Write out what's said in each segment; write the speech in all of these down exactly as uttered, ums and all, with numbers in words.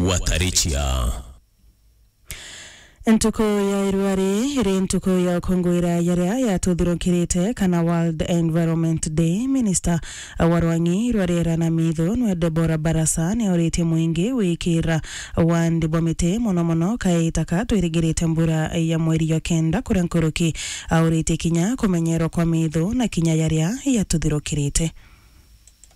Watarichia. Ntuku ya irua ri iri ntuku ya ukungwira yaria yatuthirukirite kana World Environment Day. Minister wa rwang'i rwa riera na mitho nwe Deborah Barasa ni auritie mwingi wikira wandi bwa miti, mono mono kaita ka twirigirite mbura ya mweri ya kenda kuria nkuruki. Auritie kinya kumenyerwa kwa mitho na kinya yaria yatuthirukirite.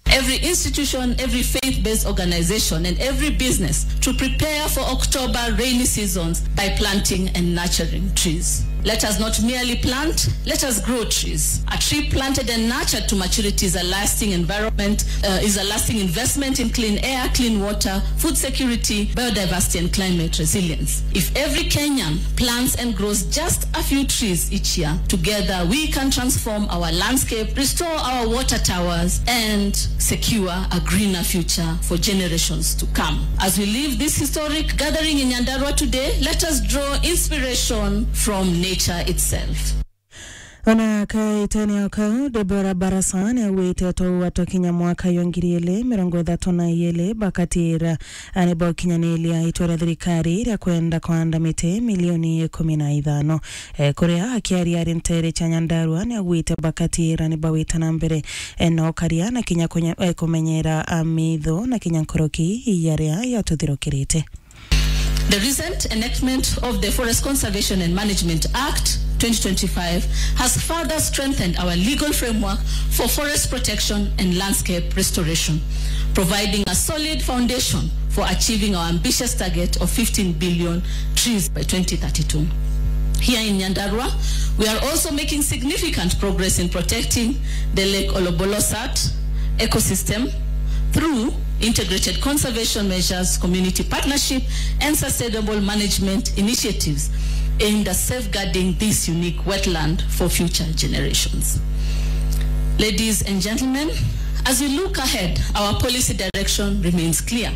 Every institution, every faith-based organization, and every business to prepare for October rainy seasons by planting and nurturing trees. Let us not merely plant, let us grow trees. A tree planted and nurtured to maturity is a lasting environment, uh, is a lasting investment in clean air, clean water, food security, biodiversity, and climate resilience. If every Kenyan plants and grows just a few trees each year, together we can transform our landscape, restore our water towers, and secure a greener future for generations to come. As we leave this historic gathering in Nyandarua today, let us draw inspiration from nature itself. Ona kaitene o kau, Deborah Barasa ni augite twaua twakinya mwaka yo ngiri ili mirongo ithatu na ili bakatira ani bokinyaniria itua ria thirikari ria kwenda kwanda miti milioni ikumi na ithano. E, kuria akiaria ari ntere cia Nyandarua ni augite bakatira ni bawita na mbere, e, na ukaria na kinya kunya-, e, kumenyera, a, mitho na kinya nkuruki yaria yatuthirukirite. The recent enactment of the Forest Conservation and Management Act twenty twenty-five has further strengthened our legal framework for forest protection and landscape restoration, providing a solid foundation for achieving our ambitious target of fifteen billion trees by twenty thirty-two. Here in Nyandarua, we are also making significant progress in protecting the Lake Olobolosat ecosystem through integrated conservation measures, community partnership, and sustainable management initiatives aimed at safeguarding this unique wetland for future generations. Ladies and gentlemen, as we look ahead, our policy direction remains clear.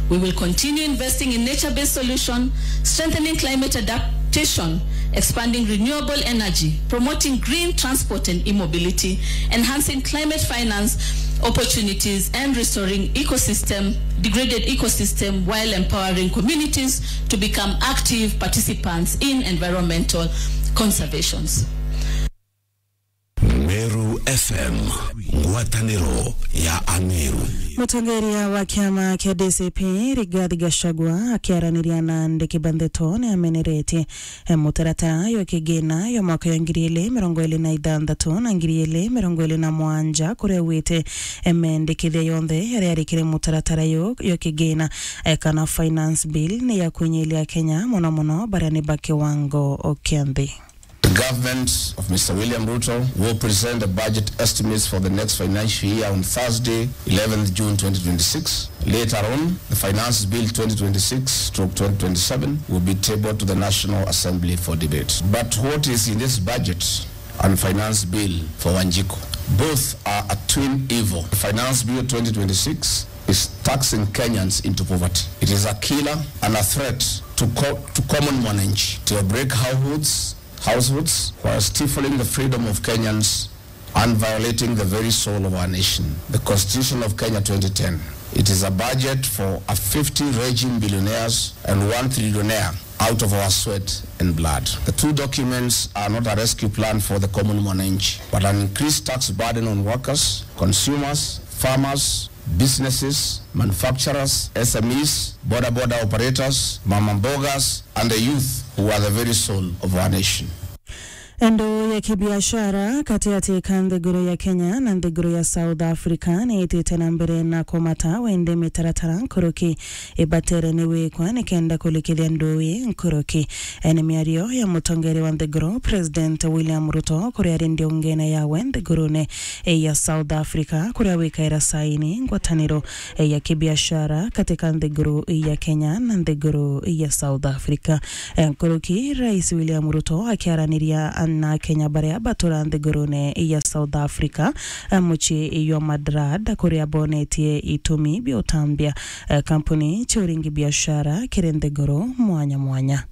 We will continue investing in nature-based solution, strengthening climate adaptation, expanding renewable energy, promoting green transport and e-mobility, enhancing climate finance opportunities, and restoring ecosystem, degraded ecosystem while empowering communities to become active participants in environmental conservations. Meru F M, ngwataniro ya Ameru. Mutongeria wa kiama kia D C P, Rigathi Gachagua, akiaraniria na andiki ba ndeto, ni ameneretie, e, mutaratara yo kigina yo mwaka yo ngiri ili mirongo ili na ithanthatu na ngiri ili mirongo ili na mwanja, kuria augite, e, mendikithia yonthe yaria ari kiri mutaratara yo, yo kigina, e, kana finance bill ni ya kwinyilia Kenya, mono mono baria ni ba kiwango kia nthi. The government of Mister William Ruto will present the budget estimates for the next financial year on Thursday, eleventh June twenty twenty-six. Later on, the Finance Bill twenty twenty-six stroke twenty twenty-seven will be tabled to the National Assembly for debate. But what is in this budget and Finance Bill for Wanjiko? Both are a twin evil. The Finance Bill twenty twenty-six is taxing Kenyans into poverty. It is a killer and a threat to co-, to common mwananchi, to break households, households, while stifling the freedom of Kenyans and violating the very soul of our nation, the Constitution of Kenya twenty ten. It is a budget for a fifty raging billionaires and one trillionaire out of our sweat and blood. The two documents are not a rescue plan for the common mwananchi, but an increased tax burden on workers, consumers, farmers, businesses, manufacturers, S M Es, boda boda operators, mama mbogas, and the youth who are the very soul of our nation. Endo ya kibiashara katiati ka nthiguru ya Kenya na nthiguru ya South Africa ni itite na mbere na kumata wende mitaratara nkuruki ibatere ni wikwa nikenda kulikithia ndui nkuruki. Ene miario ya mutongeria wa nthiguru, President William Ruto, kuria ari ndiungene yawe nthigurune ya South Africa, kuria wikaira saini ngwataniro ya kibiashara katika nthiguru ya Kenya na nthiguru ya South Africa. Nkuruki, Rais William Ruto akiaraniria na Akenya baria batura nthigurune ya South Africa, mucii jwa Madrid, kuria bonetie itumi bia utambia kampuni cia uringi biashara kiri nthiguru mwanya mwanya.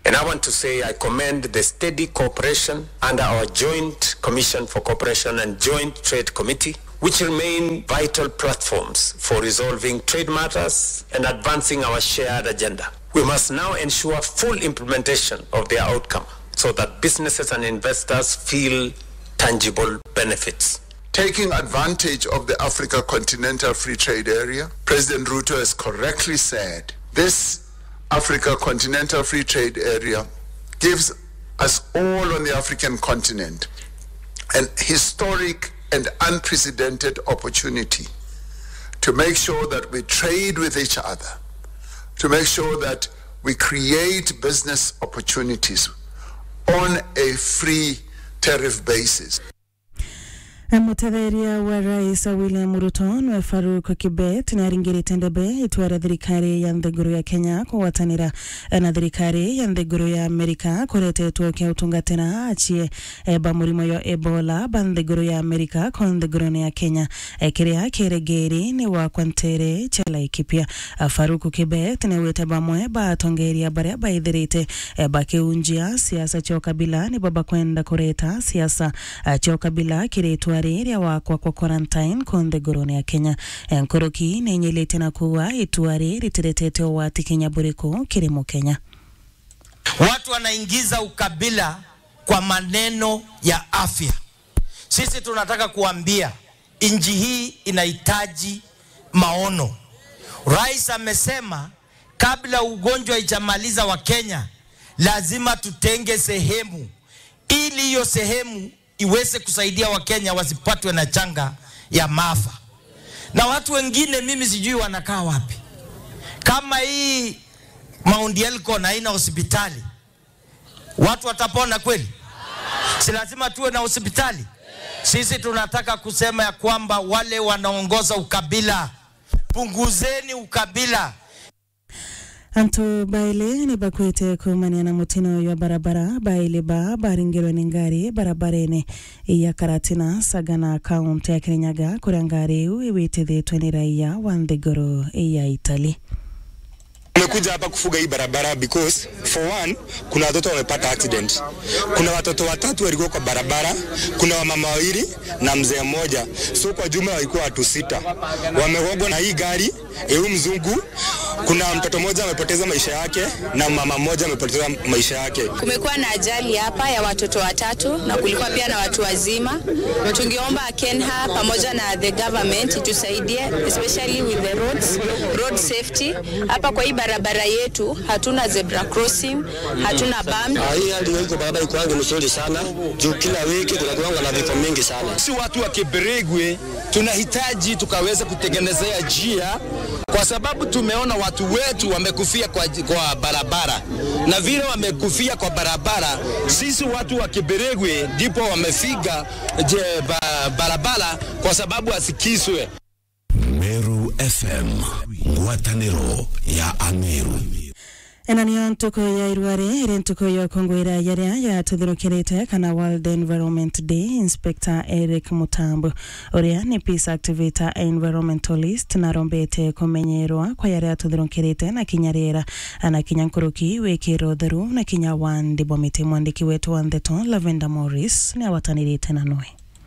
And I want to say I commend the steady cooperation under our Joint Commission for Cooperation and Joint Trade Committee which remain vital platforms for resolving trade matters and advancing our shared agenda. We must now ensure full implementation of their outcome so that businesses and investors feel tangible benefits. Taking advantage of the Africa Continental Free Trade Area, President Ruto has correctly said this Africa Continental Free Trade Area gives us all on the African continent an historic and unprecedented opportunity to make sure that we trade with each other, to make sure that we create business opportunities on a free tariff basis. Mutetheria wa Rais William Ruto nwe Farouk Kibet ni aringirite ndebe itua ria thirikari ya nthiguru ya Kenya kugwatanira na thirikari ya nthiguru ya Amerika kuretetwo kia utungatira achie, eh, ba murimo yo Ebola ba nthiguru ya Amerika ko nthigurune ya Kenya, eh, kiria kiregeri ni wakwa ntere cha Laikipia. Ah, Farouk Kibet ni wite bamwe ba atongeria baria baithirite, eh, bakiunjia siasa cia ukabila nibo bakwenda kureta siasa, ah, cia ukabila kiri itua riria wakwa kwa quarantine ku nthigurune ya Kenya. Eh, nkuruki ni inyilite na kuuga itua riri ritiretete ugwati kinya buriku kiri Mukenya. Watu wanaingiza ukabila kwa maneno ya afya. Sisi tunataka kuambia nchi hii inahitaji maono. Rais amesema kabla ugonjwa ijamaliza wa Kenya, lazima tutenge sehemu ili hiyo sehemu iweze kusaidia Wakenya wasipatwe na janga ya maafa. Na watu wengine mimi sijui wanakaa wapi. Kama hii Mount Elgon haina hospitali, watu watapona kweli? Si lazima tuwe na hospitali? Sisi tunataka kusema ya kwamba wale wanaongoza ukabila, punguzeni ukabila. Antu baili ni bakwite kuumania na mutino uyu wa barabara. Baili ba baringirwe ni ngari barabarene ya Karatina, Sagana, kaunti ya Kirinyaga, kuria ngari iu iwitithitwe ni raia wa nthiguru ya Italy. Tumekuja hapa kufuga hii barabara because for one, kuna watoto wamepata accident. Kuna watoto watatu walikuwa kwa barabara, kuna wamama wawili na mzee mmoja. So kwa jumla walikuwa watu sita. Wamegongwa na hii gari, eh, huyu mzungu. Kuna mtoto mmoja amepoteza maisha yake na mama mmoja amepoteza maisha yake. Kumekuwa na ajali hapa ya watoto watatu na kulikuwa pia na watu wazima. Tungeomba KENHA pamoja na the government itusaidie, especially with the roads, road safety. Hapa kwa hii barabara yetu hatuna zebra crossing, hatuna bump. Ah, hii hali iko barabara ikuangi mzuri sana, juu kila wiki kuna kuanga na vifo mingi sana. Si watu wa Kiberigwe tunahitaji tukaweze kutengenezea njia, kwa sababu tumeona watu wetu wamekufia kwa, kwa barabara, na vile wamekufia kwa barabara, sisi watu wa Kiberigwe ndipo wamefiga je, ba, barabara kwa sababu asikiswe. Meru F M, ngwataniro ya Ameru. Ena niyo ntuku ya irwari iri ntuku ya ukungwira yaria yatuthirukirite kana World Environment Day. Inspector Eric Mutambu, uria ni peace activator, environmentalist, narombete kumenyerwa kwa yaria atuthirukirite na kinya riera, na kinya nkuruki wikira utheru na kinya wandi bwa miti. Mwandiki wetu wa ndeto Lavender Morris ni awatanirite na nwe.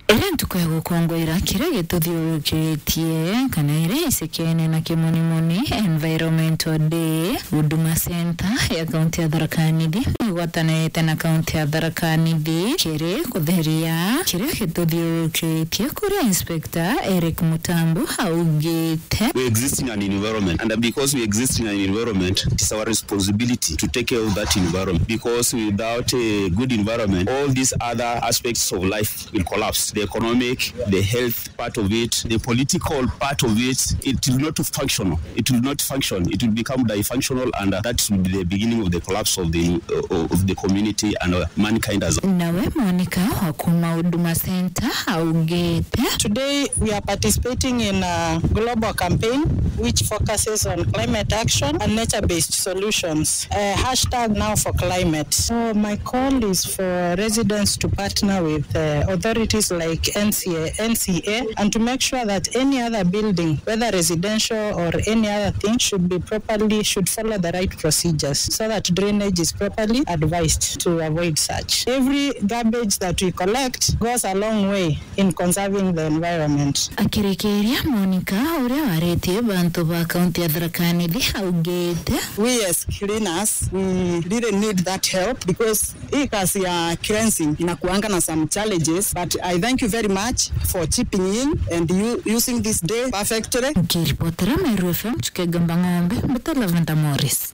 Iri ntuku ya gukungwira kiria gituthiurukitie kana iria icikene na kimonimoni, Environmental Day, Huduma Center ya kaunti ya Tharaka Nithi ni igwatanirite na kaunti ya Tharaka Nithi kiri kutheria kiria gituthiurukitie, kuria Inspector Eric Mutambu augite. We exist in an environment, and because we exist in an environment, it's our responsibility to take care of that environment, because without a good environment, all these other aspects of life will collapse. The economic, the health part of it, the political part of it, it will not function. It will not function. It will become dysfunctional, and, uh, that will be the beginning of the collapse of the, uh, of the community and, uh, mankind as a. Nawe Monica wa kuma Huduma Center augite. Today we are participating in a global campaign which focuses on climate action and nature-based solutions. Uh, hashtag now for climate. So my call is for residents to partner with, uh, authorities like like N C A, N C A, and to make sure that any other building, whether residential or any other thing, should be properly, should follow the right procedures so that drainage is properly advised to avoid such. Every garbage that we collect goes a long way in conserving the environment. Akirikiria, Monica, uria waritie bantu ba kaunti ya Tharaka Nithi, augite, we as cleaners, we really need that help because hii kazi ya cleansing inakuanga na some challenges, but I thank you very much for chipping in and you using this day perfectly. Nkiripotera Meru F M, Chukega Mbang'ombe, mbita Lavender Morris.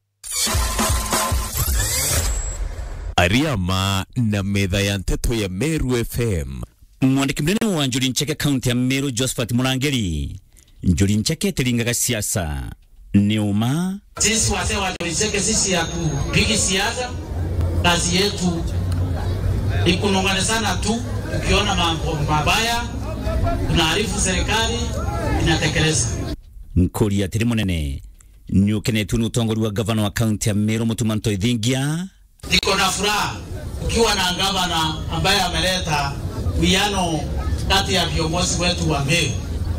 Ariama na metha ya nteto ya Meru F M. Mwandiki munene wa Njuri Ncheke kaunti ya Meru, Josephat Murangiri. Njuri Ncheke itiringaga siasa. Ni uma. Sisi wazee wa Njuri Ncheke, sisi hatupigi siasa. Kazi yetu ni kunong'onezana tu, tukiona mambo mabaya, tunaarifu serikali, inatekeleza. Nkuri atiri munene, ni ukenetue ni utongoria wa gavana wa kaunti ya Meru, Mutuma Ntoithingia. Niko na furaha ukiwa na gavana ambaye ameleta uwiano kati ya viongozi wetu wa Meru.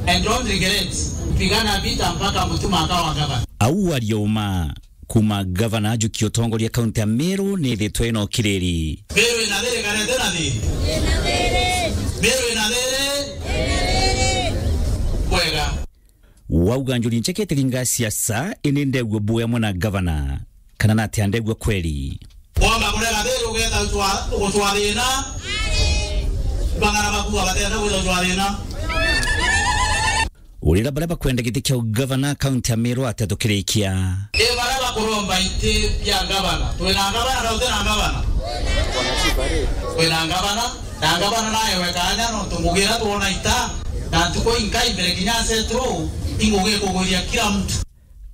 And don't regret kupigana vita mpaka Mutuma akawa gavana. Au aria uma kuma gavana ajukia utongoria kaunti ya Meru nithitwe ina ukiriri. Meru ina thiri kana itina thiri? Meru ina thiri? Kwega. Wauga Njuri Ncheke itiringa siasa, ini ndegua bui amwe na gavana, kana natia ndegua kweri? Wamba kurega thiri ugeta gutwa-, gutwa thina. Bang'ana baku abatenda gwita gutwa thina. Urira baria bakwenda giti kia ugavana kaunti ya Meru atia tukirikia? I baria bakuromba iti bia gavana. Twina gavana na tutina gavana? Twina gavana. Na ngavana naewe kaanya nontu ngugi iria twona ita, na ntuku inkai mbere kinya asettle, i ngugi ikugwiria kila mtu.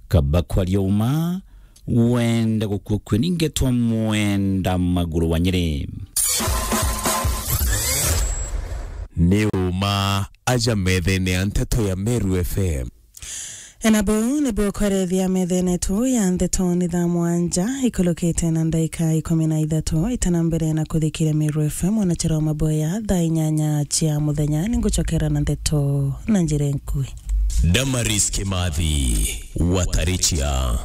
Kaba kwaria uma, wenda gukua kue ni ngetwa Mwenda Maguru wa Nyeri. Ni uma aja methene ya nteto ya Meru F M. Na buu nibuo kwerethia methene tu ya ndeto ni thaa mwanja ikulukite na ndaika ikumi na ithatu itana mbere na kuthikiria Meru F M mwanachara wa maboya thaa inyanya cia muthenya. Ningucokera na ndeto na njira nkui. Damaris Kimathi, Watarichia.